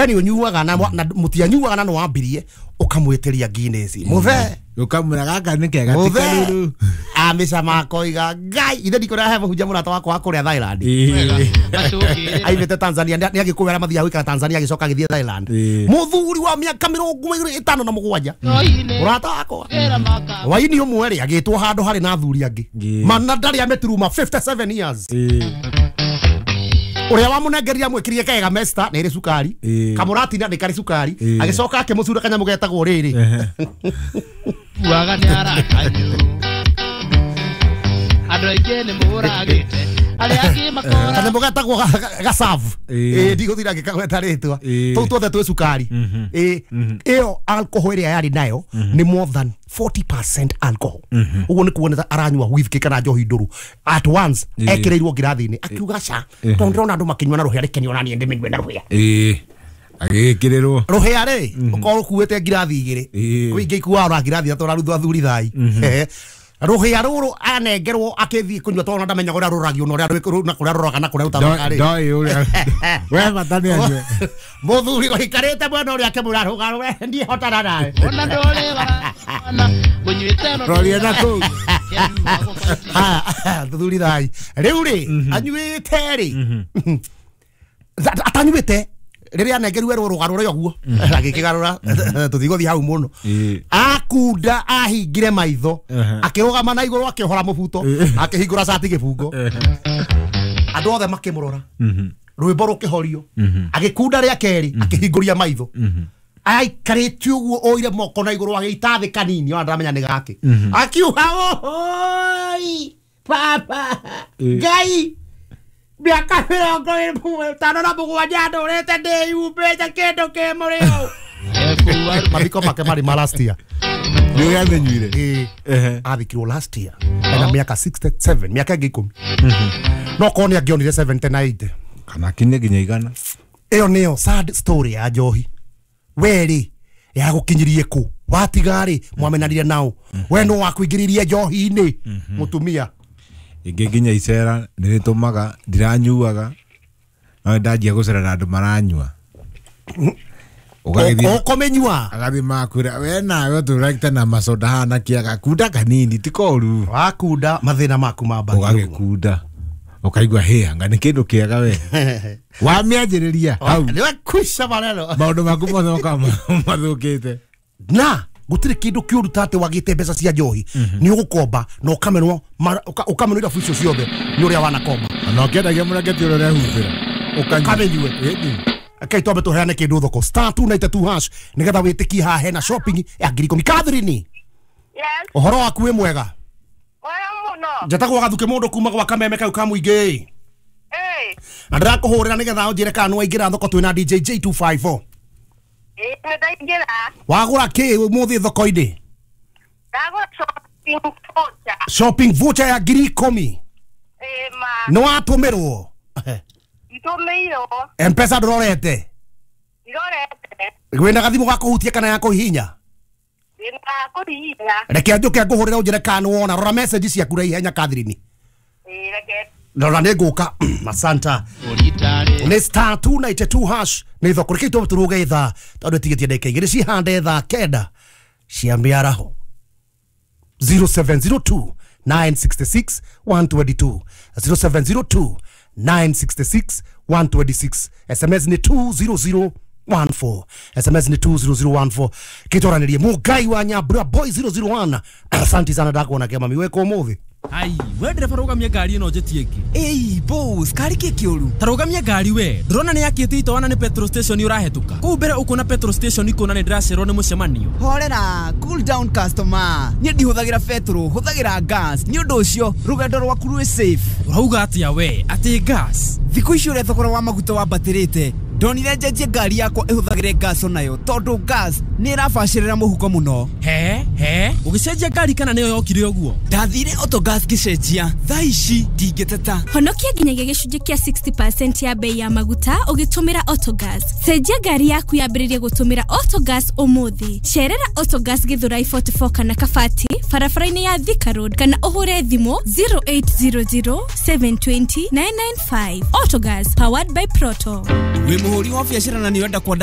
We nĩ ũnyuaga na mũtianyuaga na nĩwambirie ũkamwĩtĩria Guinness mũthee ukamwĩra gaka nĩ kega ti karuru amĩcama akoiga Ngai ithe ndikũrĩa he mũhunjia mũrata wakwa wa kũrĩa Thailand aimĩte Tanzania nĩ agĩkũyũ arĩa mathiaga gũikara Tanzania agĩcoka agĩthiĩ Thailand mũthuri wa mĩaka 27 mũrata wakwa waini ũmwe rĩ agĩtwo handũ harĩ na athuri angĩ mana ndarĩ ameturuma 57 years uria wamunengeria mwikirie kega mesta nä ä rä cukari kamuratina nä karä cukari agĩcoka akĩmũcura kanyamũ getagwo rĩrĩ kuaga nĩ arakanyu andũ aingĩ nĩ mũragĩte arĩa angĩ makora kanyamũ getagwo gacabu ndigũthira ngĩkagweta rĩtwa tũu tuothe twĩ cukari ĩyo alcohol ĩrĩa yarĩ nayo nĩ more than 40% alcohol uguo nĩ kuoneta aranyua whisky kana njohi ndũrũ at once ekĩrĩirwo ngirathi-inĩ akiuga ca tondũ ndĩrona andũ makĩnyua na rũhĩa reke niĩ ona niĩ ndĩmĩnyue na rũhĩa agĩkĩrĩrwo rũhĩa rĩ ũkorwo ũkuĩte ngirathi igĩrĩ kwĩ ingĩ ikuaga ona ngirathi ithatũ ũraruthwo athuri thai rũhĩa rũrũ anengerwo akĩthiĩ kũnyua tondũ ndamenyaga ũrĩa rũragio na ũrĩa rũraga na kũrĩa rũtaroraga rĩ ndoĩ ũrĩa we bata nĩ anyue mũthuri ũikarĩte mwena ũrĩa akĩmwĩra rũga we ndiĩhotana nawe ona ndũrĩ wana mũnyuĩte no roria na kũu thuri thai rĩu rĩ anyuĩte rĩ atanyuĩte rĩrĩa anengerirwe rũga rũrĩa ũguo agĩkĩgarũra tũtigũthiĩ hau mũno akunda ahingire maitho akĩrũgama na igũrũ akĩohora mũbuto akĩhingũra cati gĩbungo andũ othe makĩmũrora rwĩmbo rũkĩhorio agĩkunda rĩa kerĩ akĩhingũria maitho aikarĩte ũguo oire moko na igũrũ agĩita thĩ kanini ona ndaramenya nĩ gake akiuga oi baba Ngai mĩaka 57 ndũrĩte ndĩyumbĩte kĩndũ kĩ mũrĩo mathiko make marĩ ma last year nĩ ũrĩa amenyuire athikirwo last year ena mĩaka 67 mĩaka ĩngĩ 10 no korwo nĩ angĩonire 70 na 80 kana kinye nginya igana ĩyo nĩyo sad story ya njohi we rĩ yagũkinyirie kũ watiga rĩ mwamenanire nao we no wakuingĩririe njohi-inĩ mũtumia ingĩ nginya icera nĩ rĩtũmaga ndiranyuaga no ndanjia gũcera na andũ maranyua ũkũmĩnyua agathiĩ makwĩra we nawe ũtũragĩte na macoda haha na kĩaga kunda kanini ti koru wakunda mathĩna maku mambagia ũgagĩkunda ũkaigua hĩ anga nĩ kĩndũ kĩega we wamĩanjĩrĩria hau nĩwekwica maneno maũndũ maku mothe makoragwo mathũkĩte na gutire kindu kiuru tate wagite mbeca cia njohi ni ugukomba na ukamenwo ukamenwo irabu icio ciothe ni uria wanakomba na ũkĩendagia mũrengeti ũrĩa ũrehumbĩra ukamenyue okay twambe tuheane kindu thoko star 292 hash nigetha witikie haha hena shopping ya 10,000 Catherine. Yes. Ũhoro waku wĩ mwega? Mwega mũno. Njetagwo Gathuke mũndũ kuma gwa Kameme kau ka mũingĩ. Na ndĩrakũhũrĩra nĩgetha ũnjĩre kana nĩwaingĩra thoko twĩna DJ J254. Nĩ ndaingĩra. Wagũra kĩ ũmũthĩ thoko-inĩ? Ndagũra shopping voucher. Shopping voucher ya 10,000. Ĩĩ ma. Nĩwatũmĩrwo? Nditũmĩirwo. M-Pesa ndũrorete? Ndirorete. Wĩna gathimũ ga kũhutia kana ya kũhihinya? Ndĩna kũhihinya. Reke njũke ngũhũrĩre ũnjĩre kana nĩwona. Rora message ciaku na ihenya Catherine. Ĩĩ reke. Rora nĩ ngũka. Asanta. Nĩ star 292 hash nĩ thoko reke tũrũge ithaa tondũ ĩtigĩtie ndagĩka igĩrĩ cihande thaa 9 cia mĩaraho 0702 966 122 0702 966 126 SMS nĩ 20014 SMS nĩ 20014 kĩtwaranĩrie Mũngai wa Nyambura boy 001 asante sana ndakuona kĩama miweko ũmũthĩ. Ai, we ndereba rũgamia ngari ĩno njĩtie ĩngĩ. Ĩi boss, kari kĩ kĩũru? Ta rũgamia ngari we. Ndũrona nĩ yakĩte itoana nĩ petrol station ũrahetũka. Kũu mbere ũkuona petrol station ikuona nĩ ndĩracererwo nĩ mũcemanio. Horera, cool down customer. Niĩ ndihũthagĩra petrol, hũthagĩra gas. Nĩ ũndũ ũcio rũgendo rwaku rwĩ safe. Ũrauga atĩa we? Atĩ gas? Thikũ ici ũrĩa thogora wa maguta wambatĩrĩte, ndonire njenjie ngari yakwa ĩhũthagĩre gas onayo tondũ gas nĩ ĩrabacĩrĩra mũhuko mũno. He ũgĩcenjia ngari kana nĩyo yokire ũguo? Ndathire Autogas ngĩcenjia, thaa ici ndingĩteta. Honokia nginyagia gĩcunjĩ kĩa 60% ya bei ya maguta ũgĩtũmĩra Autogas. Cenjia ngari yaku yambĩrĩrie gũtũmĩra Autogas ũmũthĩ. Cerera Autogas Githurai 44 kana Kabati barabara-inĩ ya Thika Road kana ũhũre thimũ 0800 720 995. Autogas powered by Proto. Wĩ mũhũri wa biacara na nĩ ũrenda kwandandũra